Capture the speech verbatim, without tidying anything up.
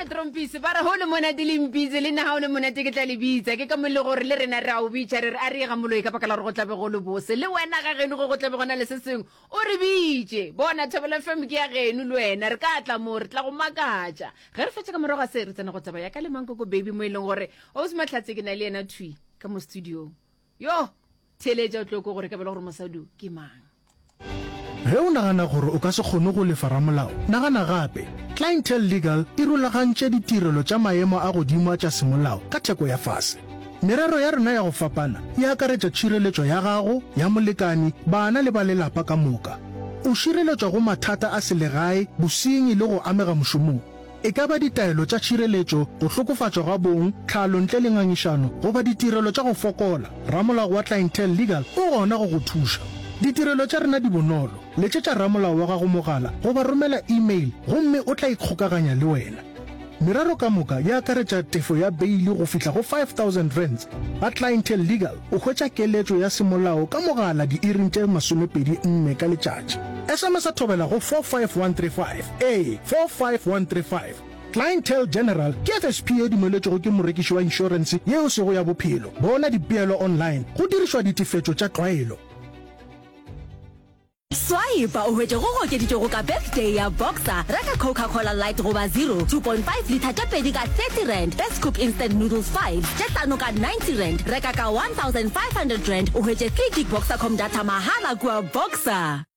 Matrompisi ba re go le monate le mpitse le nna ga o le monate ke tla le bitsa ke ka mo e le gore le rena re a o bitša re re a re ye ga moloi ka baka la gore go tlabe go le bose le wena ga geno go go tlabe gona le se sengwe o re bitše bona Thobela F M ke ya geno le wena re ka tla mo re tla go makatša ge re fetša ka morago ga se re tsena go taba ya ka le Mankoko Baby mo e leng gore Ausi Mahlatse ke na le yena thwi ka mo studiong yo theeletša o tlo ko gore ka bela gore mosadi ke mang. Ge o nagana gore o ka se kgone go lefa ramolao, nagana gape. Clientele Legal e rulagantše ditirelo tša maemo a godimo a tša semolao ka theko ya fase. Merero ya rena ya go fapana e akaretša tšhireletšo ya gago, ya molekani, bana le ba lelapa ka moka. O šireletšwa go mathata a selegae, bosenyi le go amega mošomong. E ka ba ditaelo tša tšhireletšo, go hlokofatšwa ga bong, tlhalo ntle le ngangišano, goba ditirelo tša go fokola, ramolao wa Clientele Legal o gona go go thuša. Ditirelo tša rena di bonolo, letšetša ramolao wa gago mogala goba romela email gomme o tla ikgokaganya le wena. Merero ka moka e akaretša tefo ya beili go fihla go five thousand rands. Ga Clientele Legal o hwetša keletšo ya semolao ka mogala diiring tše masomepedi nne ka letšatši. S M S a thobela go four five one three five, ee, four five one three five. Clientele General ke F S P ye dumeletšwego ke morekiši wa inšorense ye e sego ya bophelo. Bona dipeelo online go dirišwa ditefetšo tša tlwaelo. Swipe o hwetše go go okeditšwego ka Birthday ya Boxer. Reka Coca-Cola Light goba Zero, two point five litha tše pedi ka thirty rand, Best Cook Instant Noodles five tše hlano ka ninety rand. Reka ka one thousand five hundred rand o hwetše three gig Boxercom data mahala kua Boxer.